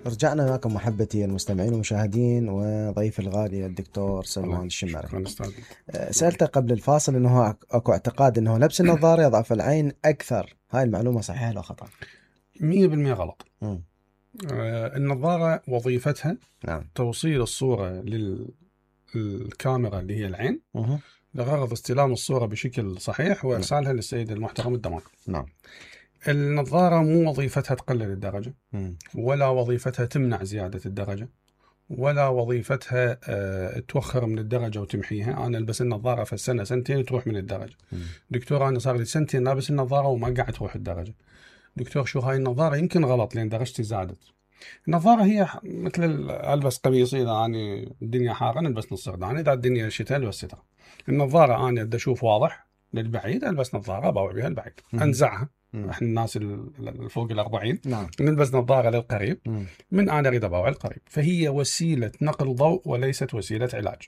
رجعنا معكم محبتي المستمعين والمشاهدين وضيف الغالي الدكتور سلمان الشمري. سألته قبل الفاصل انه اكو اعتقاد انه لبس النظارة يضعف العين اكثر، هاي المعلومة صحيحة ولا خطأ؟ 100% غلط. النظارة وظيفتها توصيل الصورة للكاميرا اللي هي العين لغرض استلام الصورة بشكل صحيح وإرسالها للسيد المحترم الدماغ. نعم. النظارة مو وظيفتها تقلل الدرجة، ولا وظيفتها تمنع زيادة الدرجة، ولا وظيفتها توخر من الدرجة وتمحيها. أنا ألبس النظارة في السنة سنتين تروح من الدرجة. دكتور أنا صار لي سنتين لابس النظارة وما قاعد تروح الدرجة. دكتور شو هاي النظارة؟ يمكن غلط لأن درجتي زادت. النظارة هي مثل ألبس قميص، إذا أنا الدنيا حارة ألبس نص سردان، إذا الدنيا شتاء ألبس سترة. النظارة أنا بدي أشوف واضح للبعيد ألبس نظارة بوع بها البعيد، أنزعها. احنا الناس الفوق 40 نلبس نظارة للقريب من أنا أريد أبوع القريب. فهي وسيلة نقل ضوء وليست وسيلة علاج.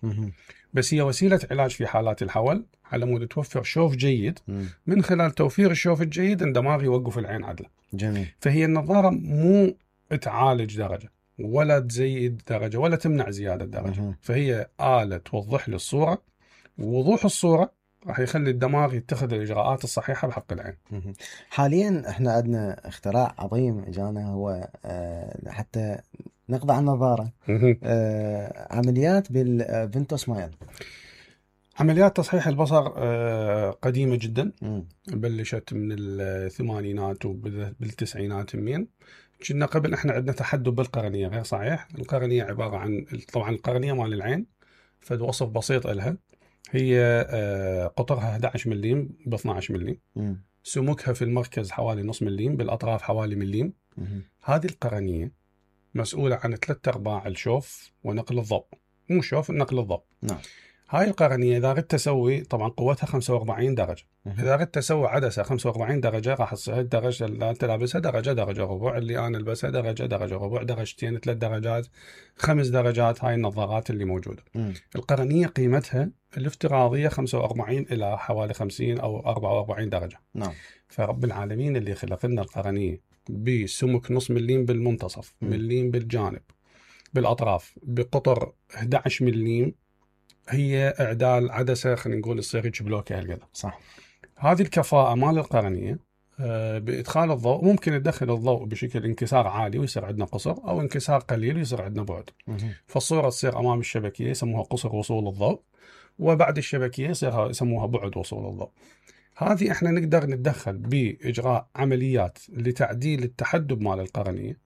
بس هي وسيلة علاج في حالات الحول على مود توفر شوف جيد. من خلال توفير الشوف الجيد الدماغ يوقف العين عدلة. جميل. فهي النظارة مو تعالج درجة ولا تزيد درجة ولا تمنع زيادة درجة. فهي آلة توضح لي الصورة، ووضوح الصورة راح يخلي الدماغ يتخذ الإجراءات الصحيحة بحق العين. حاليا احنا عندنا اختراع عظيم اجانا، هو حتى نقضي على النظارة. عمليات بالفينتو سمايل. عمليات تصحيح البصر قديمة جدا، بلشت من الثمانينات وبالتسعينات. كنا قبل احنا عندنا تحدب بالقرنية غير صحيح. القرنية عبارة عن طبعا القرنية مال العين فد وصف بسيط لها، هي قطرها 11 مليم ب 12 مليم، سمكها في المركز حوالي نص مليم، بالأطراف حوالي مليم. هذه القرنية مسؤولة عن 3/4 الشوف ونقل الضوء، مو شوف نقل الضوء. نعم. هاي القرنية إذا أردت أسوي طبعا قوتها 45 درجة، إذا أردت أسوي عدسة 45 درجة راح تصير الدرجة اللي أنت لابسها درجة ربع، اللي أنا ألبسها درجة ربع، درجتين 3 درجات 5 درجات. هاي النظارات اللي موجودة. القرنية قيمتها الافتراضية 45 إلى حوالي 50 أو 44 درجة. نعم. فرب العالمين اللي خلق لنا القرنية بسمك نص مليم بالمنتصف، مليم بالجانب، بالأطراف، بقطر 11 مليم، هي إعدال عدسة خلينا نقول تصير بلوكة هالقدر. صح. هذه الكفاءة مال القرنية بإدخال الضوء ممكن تدخل الضوء بشكل انكسار عالي ويصير عندنا قصر، أو انكسار قليل ويصير عندنا بعد. فالصورة تصير أمام الشبكية يسموها قصر وصول الضوء، وبعد الشبكية يسموها بعد وصول الضوء. هذه احنا نقدر نتدخل بإجراء عمليات لتعديل التحدب مال القرنية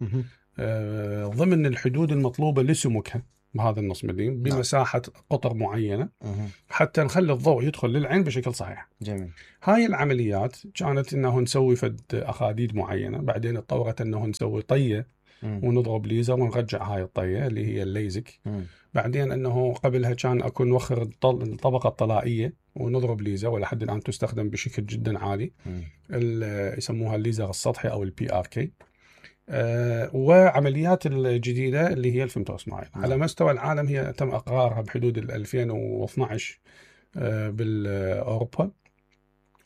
ضمن الحدود المطلوبة لسمكها بهذا النص مليم بمساحة قطر معينة حتى نخلي الضوء يدخل للعين بشكل صحيح. جميل. هاي العمليات كانت انه نسوي فد أخاديد معينة، بعدين اتطورت انه نسوي طية ونضرب ليزر ونرجع هاي الطية اللي هي الليزك. بعدين انه قبلها كان اكو نوخر الطبقة الطلائية ونضرب ليزر، ولحد الان تستخدم بشكل جدا عالي، يسموها الليزر السطحي او الPRK. وعمليات الجديدة اللي هي الفيمتو سمايل. على مستوى العالم هي تم إقرارها بحدود 2012 بالأوروبا،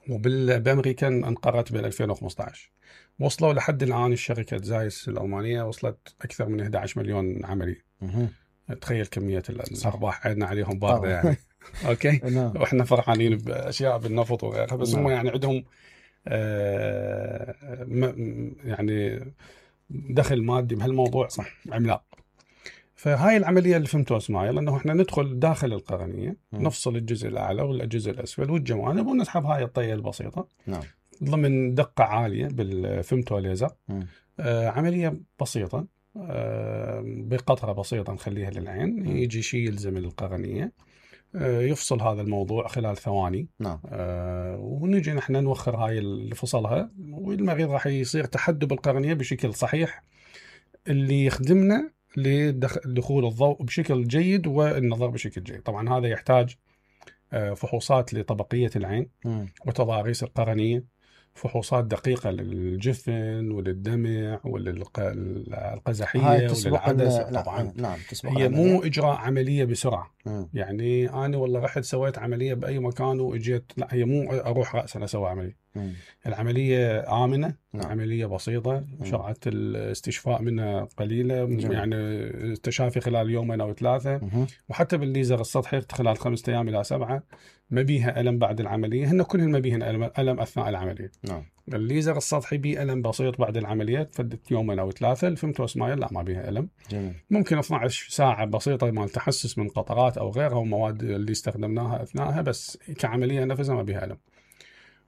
وبالأمريكا انقرت بال 2015. وصلوا لحد الآن الشركة زايس الألمانية وصلت أكثر من 11 مليون عملية. تخيل كمية الأرباح عندنا عليهم باردة يعني. أوكي. وإحنا فرحانين بأشياء بالنفط وغيرها، بس هم يعني عندهم يعني دخل مادي بهالموضوع عملاق. فهاي العملية اللي فهمتوها سمايل انه احنا ندخل داخل القرنية، نفصل الجزء الاعلى والجزء الاسفل والجوانب ونسحب هاي الطية البسيطة. نعم. ضمن دقة عالية بالفيمتو ليزر. عملية بسيطة بقطرة بسيطة نخليها للعين، يجي شيء يلزم القرنية، يفصل هذا الموضوع خلال ثواني. نعم. ونجي نحن نوخر هاي اللي فصلها، والمريض راح يصير تحدب القرنية بشكل صحيح اللي يخدمنا لدخول الضوء بشكل جيد والنظر بشكل جيد. طبعا هذا يحتاج فحوصات لطبقية العين وتضاريس القرنية، فحوصات دقيقة للجفن وللدمع وللقزحية وللعدسة. طبعا نعم. هي مو إجراء عملية بسرعة. يعني أنا والله رحت سويت عملية بأي مكان وإجيت، لا، هي مو أروح رأسا أسوي عملية، العملية آمنة، عملية بسيطة، سرعة الاستشفاء منها قليلة، يعني التشافي خلال يومين أو 3، وحتى بالليزر السطحي خلال 5 أيام إلى 7. ما بيها ألم بعد العملية، هن كلهن ما بيهن ألم أثناء العملية. الليزر السطحي بيه ألم بسيط بعد العملية، تفدت يومين أو 3. الفيمتوسمايل لا، ما بيها ألم. ممكن 12 ساعة بسيطة مال تحسس من قطرات أو غيرها ومواد اللي استخدمناها أثناءها، بس كعملية نفسها ما بيها ألم.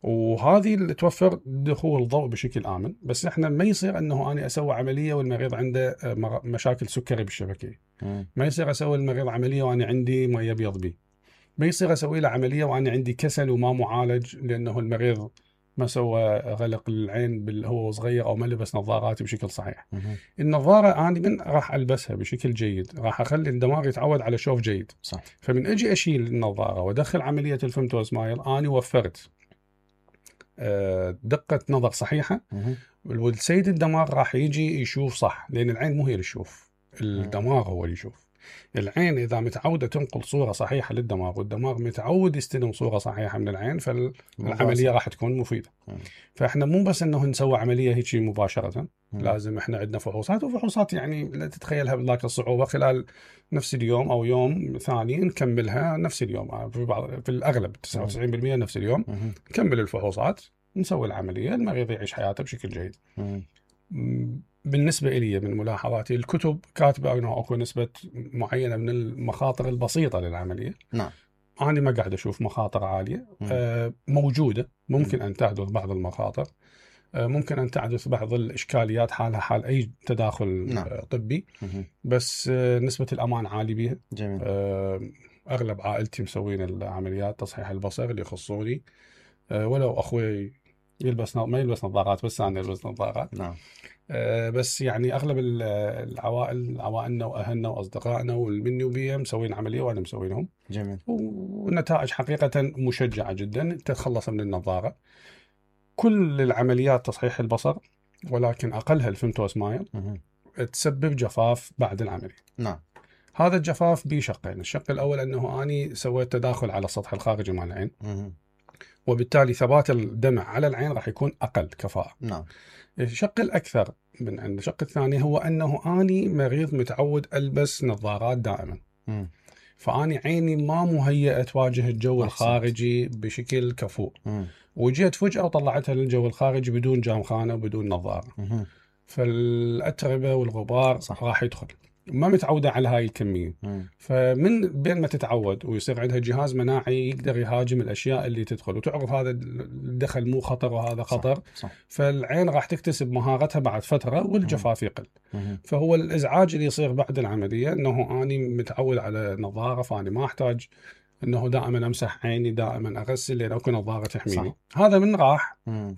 وهذه اللي توفر دخول الضوء بشكل آمن. بس احنا ما يصير انه انا اسوي عملية والمريض عنده مشاكل سكري بالشبكية، ما يصير اسوي المريض عملية وانا عندي ما يبيض بي، ما يصير اسوي له عملية وانا عندي كسل وما معالج، لانه المريض ما سوى غلق العين هو صغير او ما لبس نظارات بشكل صحيح. النظارة انا من راح البسها بشكل جيد راح اخلي الدماغ يتعود على شوف جيد. صح. فمن اجي اشيل النظارة وادخل عملية الفيمتوسمايل انا وفرت دقة نظر صحيحة، والسيد الدماغ راح يجي يشوف صح، لأن العين مو هي اللي تشوف، الدماغ هو اللي يشوف. العين إذا متعودة تنقل صورة صحيحة للدماغ والدماغ متعود يستلم صورة صحيحة من العين، فالعملية راح تكون مفيدة. فإحنا مو بس إنه نسوي عملية هيك مباشرة، لازم إحنا عندنا فحوصات، وفحوصات يعني لا تتخيلها بذاك الصعوبة، خلال نفس اليوم أو يوم ثاني نكملها نفس اليوم، في الأغلب 99% نفس اليوم نكمل الفحوصات، نسوي العملية، المريض يعيش حياته بشكل جيد. بالنسبة إلي من ملاحظاتي الكتب كاتبة أنه أكو نسبة معينة من المخاطر البسيطة للعملية. نعم. أنا ما قاعد أشوف مخاطر عالية. موجودة، ممكن أن تحدث بعض المخاطر، ممكن أن تحدث بعض الإشكاليات حالها حال أي تداخل طبي، بس نسبة الأمان عالي بيها. جميل. أغلب عائلتي مسوين العمليات تصحيح البصر اللي يخصوني، ولو أخوي ما يلبس نظارات، بس أنا يلبس نظارات. نعم. بس يعني أغلب العوائل، عوائلنا وأهلنا وأصدقائنا والمني وبيهم مسوين عملية وأنا مسوينهم. جميل. والنتائج حقيقة مشجعة جدا، تتخلص من النظارة. كل العمليات تصحيح البصر، ولكن أقلها الفيمتوسمايل، تسبب جفاف بعد العملية. نعم. هذا الجفاف بشقين. الشق الأول أنه أني سويت تداخل على السطح الخارجي مال العين، وبالتالي ثبات الدمع على العين راح يكون أقل كفاءة. نعم. الشق الأكثر من عند الشق الثاني هو أنه أني مريض متعود ألبس نظارات دائما، فأني عيني ما مهيئة تواجه الجو الخارجي بشكل كفؤ، وجيت فجأة وطلعتها للجو الخارجي بدون جامخانة وبدون نظارة، فالأتربة والغبار راح يدخل، ما متعودة على هاي الكمية. فمن بين ما تتعود ويصير عندها جهاز مناعي يقدر يهاجم الأشياء اللي تدخل، وتعرف هذا الدخل مو خطر وهذا خطر. صح. فالعين راح تكتسب مهارتها بعد فترة والجفاف يقل. فهو الإزعاج اللي يصير بعد العملية أنه أنا متعود على نظارة، فأنا ما أحتاج أنه دائما أمسح عيني، دائما أغسل، لأن أكو نظارة تحميني. هذا من راح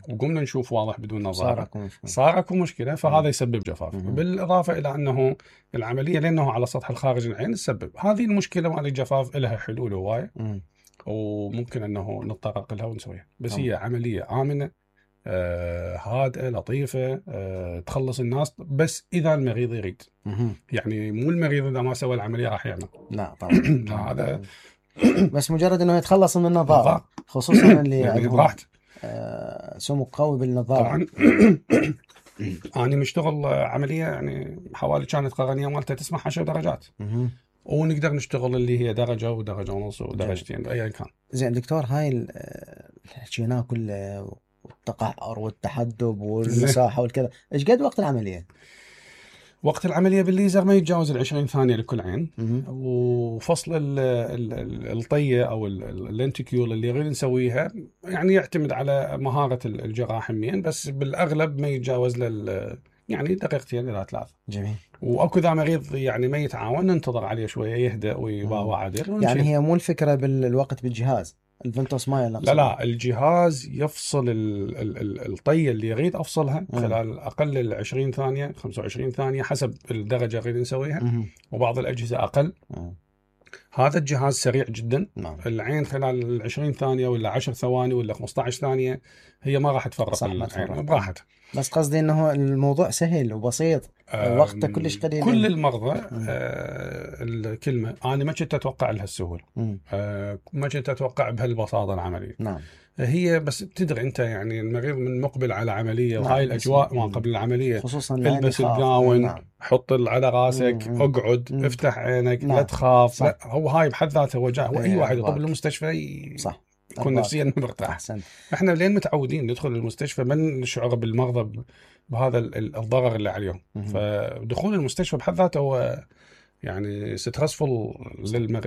وقمنا نشوف واضح بدون نظارة صار أكو مشكلة، فهذا يسبب جفاف. بالإضافة إلى أنه العملية لأنه على سطح الخارج العين تسبب هذه المشكلة مال الجفاف، لها حلول هواية وممكن أنه نتطرق لها ونسويها. بس هي عملية آمنة، هادئة لطيفة، تخلص الناس، بس إذا المريض يريد. يعني مو المريض إذا ما سوى العملية راح يعمل، لا طبعا. هذا بس مجرد انه يتخلص من النظارة، خصوصا اللي يعني براحته سمو قوي بالنظارة. طبعا. أنا مشتغل عملية يعني حوالي كانت قرنية مالتها تسمح 10 درجات، ونقدر نشتغل اللي هي درجة ودرجة ونص ودرجتين أيا كان. زين دكتور، هاي الحكينا كله والتقعر والتحدب والمساحة والكذا، ايش قد وقت العملية؟ وقت العملية بالليزر ما يتجاوز 20 ثانية لكل عين. وفصل الطية أو اللينتيكيول اللي غير نسويها يعني يعتمد على مهارة الجراح همين، بس بالأغلب ما يتجاوز يعني دقيقتين إلى 3. جميل. وأكو ذا مريض يعني ما يتعاون، ننتظر عليه شوية يهدأ ويباوع عدل. يعني هي مو الفكرة بالوقت بالجهاز الفيمتوسمايل؟ لا الجهاز يفصل الطية اللي يريد أفصلها خلال أقل 20 ثانية 25 ثانية حسب الدرجة اللي نسويها، وبعض الأجهزة أقل. هذا الجهاز سريع جدا. العين خلال 20 ثانية ولا 10 ثواني ولا 15 ثانية هي ما راح تفرق العين براحتها. بس قصدي انه الموضوع سهل وبسيط، وقته كلش قليل. كل المرضى الكلمة أنا ما كنت أتوقع لها السهولة، ما كنت أتوقع بهالبساطة العملية. نعم. هي بس تدري انت يعني المريض من مقبل على عمليه وهاي الاجواء ما قبل العمليه، خصوصا البس الجاون، حط على راسك، اقعد، افتح عينك، لا تخاف. لا هو هاي بحد ذاته وجع، واي واحد يطب المستشفى صح يكون نفسيا مرتاح. احنا لين متعودين ندخل المستشفى ما نشعر بالمرضى بهذا الضرر اللي عليهم. فدخول المستشفى بحد ذاته هو يعني سترسفل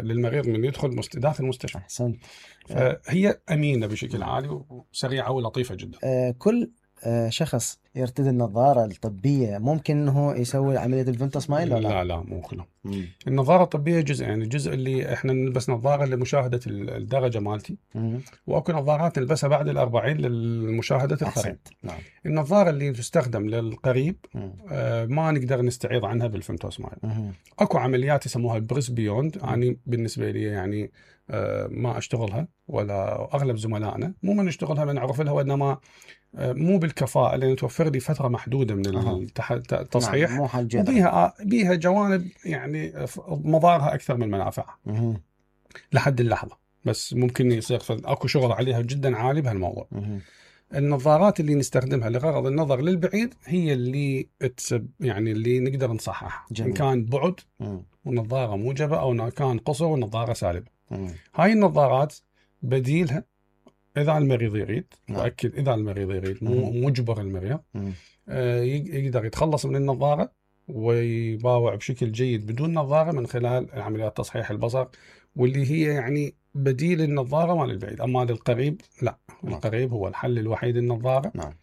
للمريض من يدخل داخل المستشفى. احسنت. فهي امينه بشكل عالي وسريعه ولطيفه جدا. كل شخص يرتدي النظاره الطبيه ممكن انه يسوي عمليه الفنتا سمايل ولا لا؟ لا مو كله. النظاره الطبيه جزء، يعني الجزء اللي احنا نلبس نظاره لمشاهده الدرجه مالتي، واكو نظارات نلبسها بعد ال40 لمشاهده القريب. نعم. النظاره اللي تستخدم للقريب ما نقدر نستعيض عنها بالفنتا سمايل. اكو عمليات يسموها بريس بيوند، يعني بالنسبه لي يعني ما اشتغلها ولا اغلب زملائنا مو من نشتغلها، من نعرف لها، وانما مو بالكفاءة، لأن توفر لي فترة محدودة من التصحيح. نعم. بيها جوانب يعني مضارها أكثر من منافعها لحد اللحظة، بس ممكن يصير أكو شغل عليها جدا عالي بهالموضوع. النظارات اللي نستخدمها لغرض النظر للبعيد هي اللي يعني اللي نقدر نصحح، إن كان بعد ونظارة موجبة، أو كان قصر ونظارة سالبة. هاي النظارات بديلها إذا المريض يريد، وأكد إذا المريض يريد، مو مجبر المريض، يقدر يتخلص من النظارة ويباوع بشكل جيد بدون نظارة من خلال عمليات تصحيح البصر، واللي هي يعني بديل النظارة مال البعيد. أما للقريب لا، القريب هو الحل الوحيد النظارة.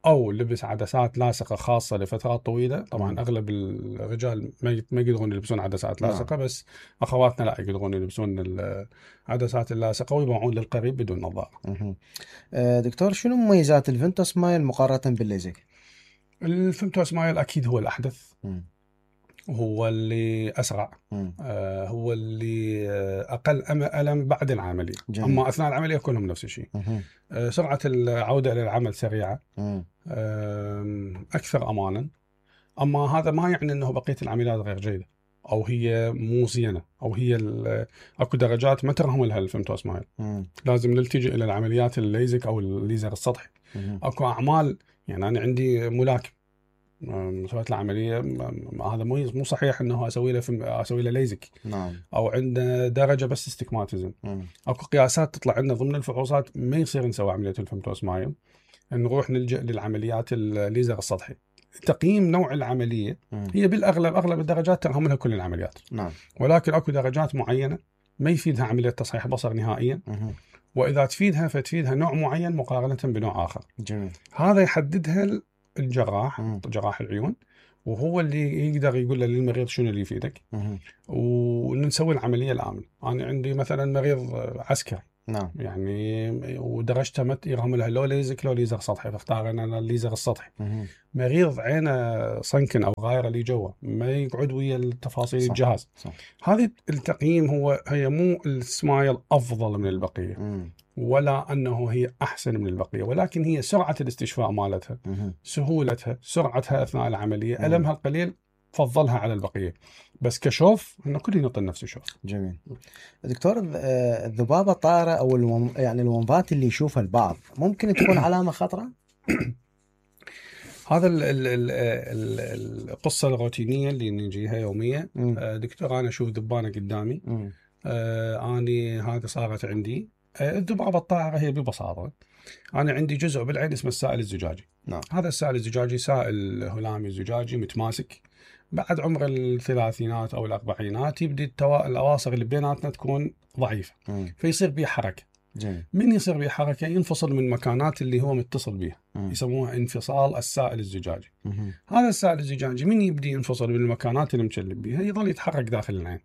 أو لبس عدسات لاصقة خاصة لفترات طويلة. طبعا أغلب الرجال ما يقدرون يلبسون عدسات لاصقة، بس أخواتنا لا يقدرون يلبسون العدسات اللاصقة ويبيعون للقريب بدون نظارة. دكتور، شنو مميزات الفنتا سمايل مقارنة بالليزك؟ الفنتا سمايل أكيد هو الأحدث، هو اللي أسرع، هو اللي أقل ألم بعد العملية. جميل. أما أثناء العملية كلهم نفس الشيء. سرعة العودة للعمل سريعة، أكثر أمانا. أما هذا ما يعني أنه بقية العمليات غير جيدة أو هي مو زينة، أو هي أكو درجات ما ترهم لها الفنتا سمايل. لازم نلتجئ إلى العمليات الليزك أو الليزر السطحي. أكو أعمال، يعني أنا عندي ملاكم سويت له عمليه، هذا مو صحيح انه اسوي له ليزك. نعم. او عنده درجه بس استكماتيزم. اكو قياسات تطلع عندنا ضمن الفحوصات ما يصير نسوي عمليه الفنتا سمايل، نروح نلجأ للعمليات الليزر السطحي. تقييم نوع العمليه هي بالاغلب اغلب الدرجات ترهم لها كل العمليات. نعم. ولكن اكو درجات معينه ما يفيدها عمليه تصحيح بصر نهائيا، واذا تفيدها فتفيدها نوع معين مقارنه بنوع اخر. جميل. هذا يحددها الجراح، جراح العيون، وهو اللي يقدر يقول للمريض شنو اللي يفيدك، ونسوي العمليه الامن. انا عندي مثلا مريض عسكري، نعم، يعني ودرجته يرهم لها لو ليزك لو ليزر سطحي، فاختار انا الليزر السطحي. مريض عينه صنكن او غايره اللي جوا ما يقعد ويا التفاصيل. صح. الجهاز. صح. هذه التقييم هي مو السمايل افضل من البقيه، ولا أنه هي أحسن من البقية، ولكن هي سرعة الاستشفاء مالتها، سهولتها، سرعتها أثناء العملية، ألمها القليل فضلها على البقية. بس كشوف إنه كل ينطي نفس الشوف. جميل. دكتور، الذبابة الطائرة أو يعني الومضات اللي يشوفها البعض ممكن تكون علامة خطرة؟ هذا القصة الروتينية اللي نجيها يومية. دكتور، أنا أشوف ذبانة قدامي، أني هذا صارت عندي. الذبابة الطائرة هي ببساطة أنا عندي جزء بالعين اسمه السائل الزجاجي. نعم. هذا السائل الزجاجي سائل هلامي زجاجي متماسك. بعد عمر الثلاثينات أو الأربعينات يبدي الأواصر اللي بيناتنا تكون ضعيفة، فيصير بيه حركة. جميل. من يصير بيه حركة ينفصل من مكانات اللي هو متصل بيها، يسموها انفصال السائل الزجاجي. هذا السائل الزجاجي من يبدي ينفصل من المكانات اللي مشلب بيها يظل يتحرك داخل العين،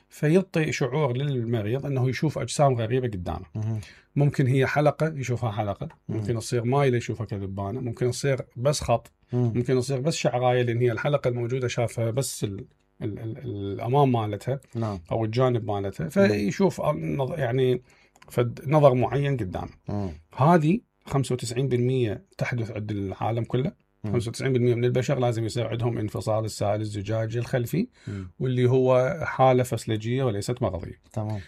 فيعطي شعور للمريض أنه يشوف أجسام غريبة قدامه. ممكن هي حلقة يشوفها حلقة، ممكن تصير مايلة يشوفها كذبانة، ممكن تصير بس خط، ممكن تصير بس شعراية لأن هي الحلقة الموجودة شافها بس الأمام مالتها. نعم. أو الجانب مالتها، فيشوف يعني نظر معين قدامه. هذه 95% تحدث عند العالم كله. 95% من البشر لازم يصير عندهم انفصال السائل الزجاجي الخلفي، واللي هو حالة فسلجية وليست مرضية. تمام.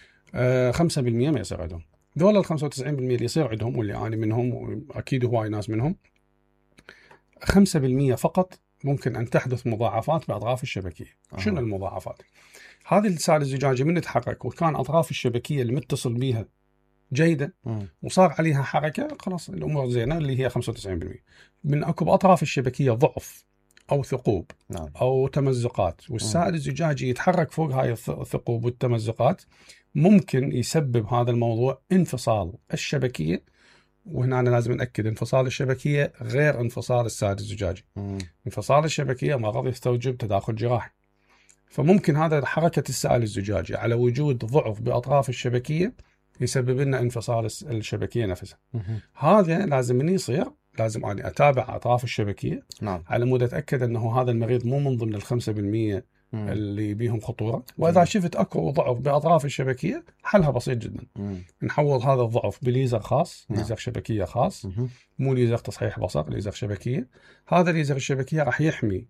5% ما يصير عندهم. ذول ال 95% اللي يصير عندهم واللي أنا منهم وأكيد هواي ناس منهم، 5% فقط ممكن أن تحدث مضاعفات بأطراف الشبكية. شنو المضاعفات؟ هذه السائل الزجاجي من تتحرك وكان أطراف الشبكية اللي متصل بيها جيدة وصار عليها حركة، خلاص الأمور زينة اللي هي 95%. من أكو بأطراف الشبكية ضعف أو ثقوب أو تمزقات والسائل الزجاجي يتحرك فوق هاي الثقوب والتمزقات، ممكن يسبب هذا الموضوع انفصال الشبكية. وهنا أنا لازم نأكد انفصال الشبكية غير انفصال السائل الزجاجي. انفصال الشبكية مرض يستوجب تداخل جراحي، فممكن هذا حركة السائل الزجاجي على وجود ضعف بأطراف الشبكية يسبب لنا انفصال الشبكية نفسها. هذا لازم من يصير لازم أنا أتابع أطراف الشبكية على مود أتأكد أنه هذا المريض مو من ضمن 5% اللي بيهم خطورة. وإذا شفت أكو ضعف بأطراف الشبكية حلها بسيط جدا، نحول هذا الضعف بليزر خاص، ليزر شبكية خاص، مو ليزر تصحيح بصر، ليزر شبكية. هذا ليزر الشبكية راح يحمي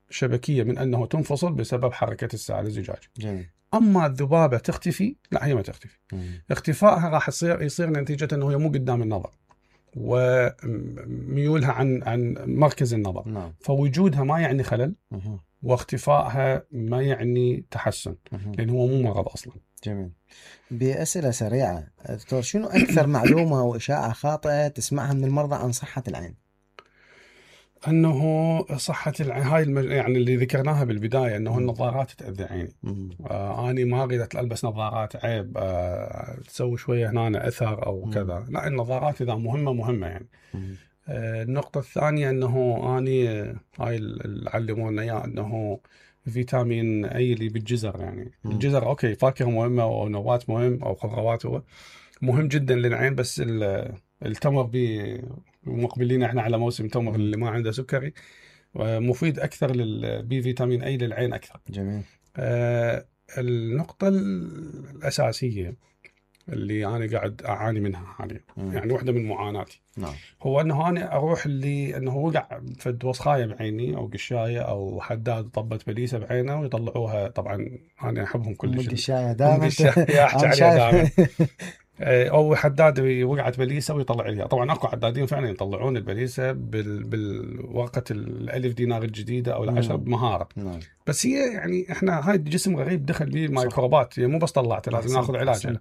الشبكية من أنه تنفصل بسبب حركة السائل الزجاجي. أما الذبابة تختفي، لا هي ما تختفي. اختفائها راح يصير نتيجة أنه هي مو قدام النظر وميولها عن مركز النظر. فوجودها ما يعني خلل، واختفائها ما يعني تحسن، لأن هو مو مرض أصلا. جميل. بأسئلة سريعة دكتور، شنو أكثر معلومة وإشاعة خاطئة تسمعها من المرضى عن صحة العين؟ أنه صحة العين هاي يعني اللي ذكرناها بالبداية، أنه النظارات تأذي عيني. أنا ما أريد ألبس نظارات، عيب تسوي شوية هنا أثر أو كذا. لا، النظارات إذا مهمة يعني. النقطة الثانية أنه أني هاي اللي علمونا إياه أنه فيتامين أي اللي بالجزر، يعني الجزر أوكي فاكهة مهمة أو نبات مهم أو خضروات هو مهم جدا للعين، بس التمر مقبلين احنا على موسم تمر اللي ما عنده سكري، مفيد أكثر للبي فيتامين أي للعين أكثر. جميل. النقطة الأساسية اللي أنا قاعد أعاني منها حاليا، يعني واحدة من معاناتي، هو أنه أنا أروح أنه وقع فد وسخاية بعيني أو قشاية أو حداد طبت بليسة بعينه ويطلعوها. طبعا أنا أحبهم كلش القشاية دائما، أحكي عليها دائما. أو حداد وقعت بليسة ويطلع لها. طبعا أكو حدادين فعلا يطلعون البليسة بالورقة الألف دينار الجديدة أو العشرة بمهارة. بس هي يعني إحنا هاي الجسم غريب دخل به ميكروبات، يعني مو بس طلعته لازم ناخذ علاج.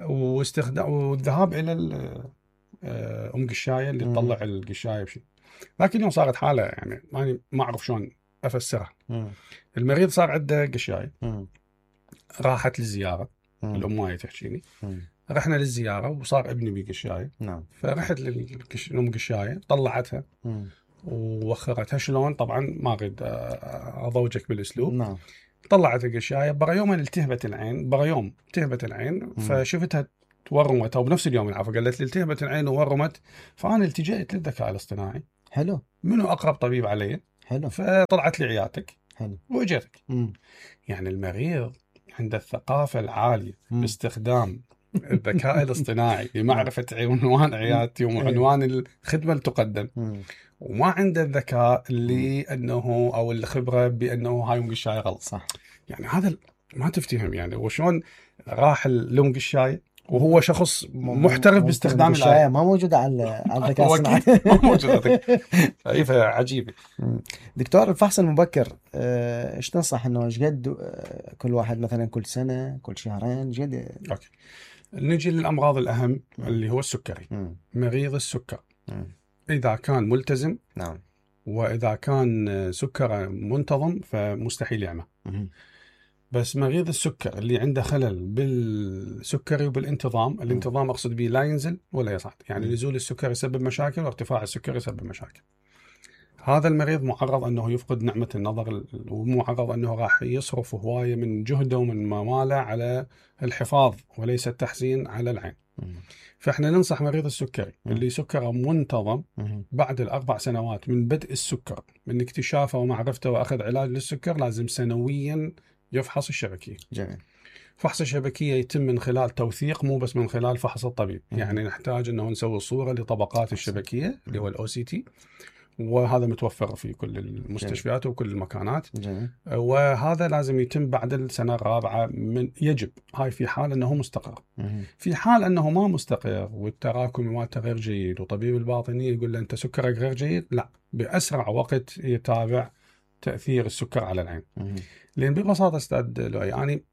والذهاب إلى أم قشاية اللي تطلع القشاية بشيء. لكن اليوم صارت حالة يعني ما أعرف شلون أفسرها. المريض صار عنده قشاية، راحت للزيارة، الأم ماي تحكيني، رحنا للزيارة وصار ابني بقشاية. فرحت للأم قشاية طلعتها ووخرتها. شلون؟ طبعا ما أريد أضوجك بالأسلوب. طلعت القشاية برا يوم التهبت العين. فشفتها تورمت، أو بنفس اليوم العفو قالت لي التهبت العين وورمت. فأنا التجأت للذكاء الاصطناعي. حلو. منو أقرب طبيب علي؟ حلو. فطلعت لي عيادتك. حلو. وإجيتك. يعني المريض عنده الثقافة العالية باستخدام الذكاء الاصطناعي لمعرفة عنوان عيادتي وعنوان الخدمة اللي تقدم، وما عنده الذكاء اللي أنه أو الخبرة بأنه هاي أم قشاية غلط. صح. يعني هذا ما تفتهم يعني. وشون راح لأم قشاية وهو شخص محترف باستخدام القشاية ما موجودة على الذكاء الاصطناعي. ما موجودة. عجيبة. دكتور، الفحص المبكر ايش تنصح انه ايش قد كل واحد مثلا كل سنة كل شهرين جد؟ اوكي، نجي للأمراض الأهم اللي هو السكري. مريض السكر إذا كان ملتزم وإذا كان سكره منتظم فمستحيل يعمى. بس مريض السكر اللي عنده خلل بالسكري وبالانتظام، الانتظام أقصد به لا ينزل ولا يصعد، يعني نزول السكر يسبب مشاكل وارتفاع السكر يسبب مشاكل. هذا المريض معرض أنه يفقد نعمة النظر، ومعرض أنه راح يصرف هواية من جهده ومن ماله على الحفاظ وليس التحسين على العين. فإحنا ننصح مريض السكري اللي سكره منتظم بعد 4 سنوات من بدء السكر، من اكتشافه ومعرفته وأخذ علاج للسكر، لازم سنويا يفحص الشبكية. جميل. فحص الشبكية يتم من خلال توثيق، مو بس من خلال فحص الطبيب. يعني نحتاج أنه نسوي صورة لطبقات الشبكية اللي هو الOCT، وهذا متوفر في كل المستشفيات وكل المكانات. جميل. وهذا لازم يتم بعد السنة الرابعة يجب. هاي في حال أنه مستقر. في حال أنه ما مستقر والتراكمي مالته غير جيد وطبيب الباطني يقول له أنت سكرك غير جيد، لا، بأسرع وقت يتابع تأثير السكر على العين. لأن ببساطة أستاذ لؤي يعني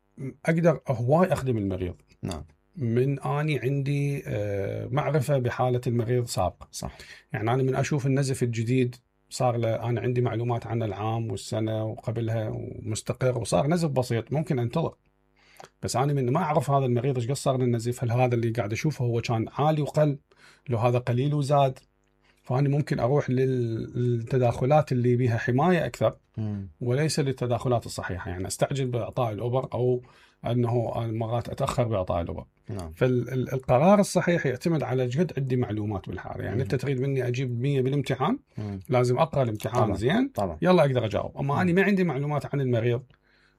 أقدر هواي أخدم المريض. نعم. من أني عندي معرفة بحالة المريض سابقة. صح. يعني أنا من أشوف النزف الجديد صار له أنا عندي معلومات عن العام والسنة وقبلها ومستقر وصار نزف بسيط ممكن أنتظر. بس أنا من ما أعرف هذا المريض إيش قد صار له النزف، هل هذا اللي قاعد أشوفه هو كان عالي وقل، لو هذا قليل وزاد، فأنا ممكن أروح للتداخلات اللي بيها حماية أكثر وليس للتداخلات الصحيحة. يعني أستعجل بإعطاء الأوبر أو أنه مرات أتأخر بإعطاء الأوبر. فالقرار الصحيح يعتمد على جد عندي معلومات بالحالة. يعني أنت تريد مني أجيب 100 بالامتحان، لازم أقرأ الامتحان طبعا. زين طبعا. يلا أقدر أجاوب. أما أنا ما عندي معلومات عن المريض،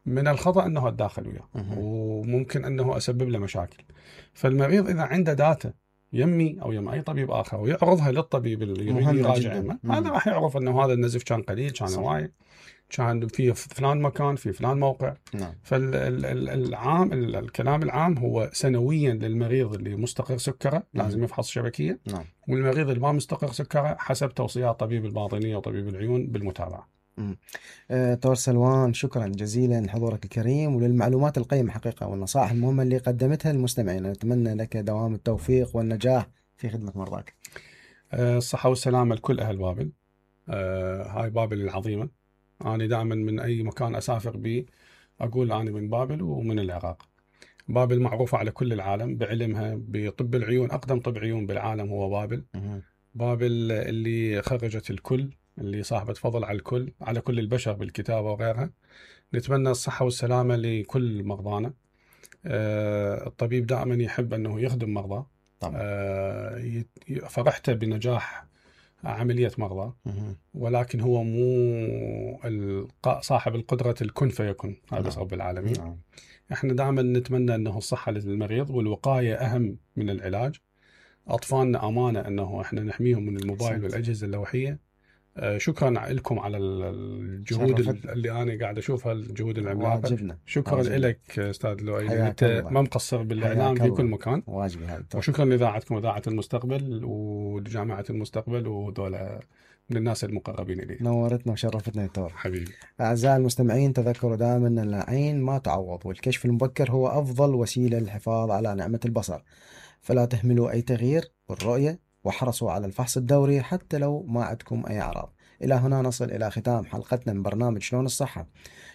من الخطأ أنه أتداخل وياه وممكن أنه أسبب له مشاكل. فالمريض إذا عنده داتا يمي أو يم أي طبيب آخر ويعرضها للطبيب اللي يريد يراجع، هذا راح يعرف أنه هذا النزف كان قليل، كان هواي، كان في فلان مكان، في فلان موقع. نعم. الكلام العام هو سنويا للمريض اللي مستقر سكره لازم يفحص شبكية. نعم. والمريض اللي ما مستقر سكره حسب توصيات طبيب الباطنية وطبيب العيون بالمتابعة. دكتور سلوان، شكرا جزيلا لحضورك الكريم وللمعلومات القيمة حقيقة والنصائح المهمة اللي قدمتها للمستمعين. نتمنى لك دوام التوفيق والنجاح في خدمة مرضاك. الصحة والسلامة لكل أهل بابل. هاي بابل العظيمة. أنا دائما من أي مكان أسافر به أقول أنا من بابل ومن العراق. بابل معروفة على كل العالم بعلمها بطب العيون، أقدم طب عيون بالعالم هو بابل. بابل اللي خرجت الكل، اللي صاحبة فضل على الكل، على كل البشر بالكتابة وغيرها. نتمنى الصحة والسلامة لكل مرضانا. الطبيب دائما يحب أنه يخدم مرضى. فرحت بنجاح عملية مرضى، ولكن هو مو صاحب القدرة الكن فيكون. هذا رب العالمين. احنا دائما نتمنى أنه الصحة للمريض والوقاية أهم من العلاج. أطفالنا أمانة أنه احنا نحميهم من الموبايل والأجهزة اللوحية. شكرا لكم على الجهود اللي أنا قاعد أشوفها، الجهود العملاقة. شكرا لك أستاذ لؤي، أنت ما مقصر بالإعلام في كل مكان. واجبي هذا. وشكرا لإذاعتكم إذاعة المستقبل ولجامعة المستقبل وذولا من الناس المقربين إلي. نورتنا وشرفتنا دكتور حبيبي. أعزائي المستمعين، تذكروا دائما أن العين ما تعوض، والكشف المبكر هو أفضل وسيلة للحفاظ على نعمة البصر. فلا تهملوا أي تغيير بالرؤية واحرصوا على الفحص الدوري حتى لو ما عندكم أي أعراض. إلى هنا نصل إلى ختام حلقتنا من برنامج شلون الصحة.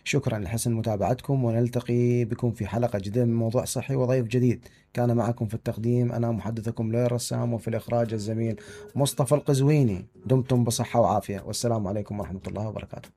شكرا لحسن متابعتكم، ونلتقي بكم في حلقة جديدة من موضوع صحي وضيف جديد. كان معكم في التقديم أنا محدثكم لؤي الرسام، وفي الإخراج الزميل مصطفى القزويني. دمتم بصحة وعافية، والسلام عليكم ورحمة الله وبركاته.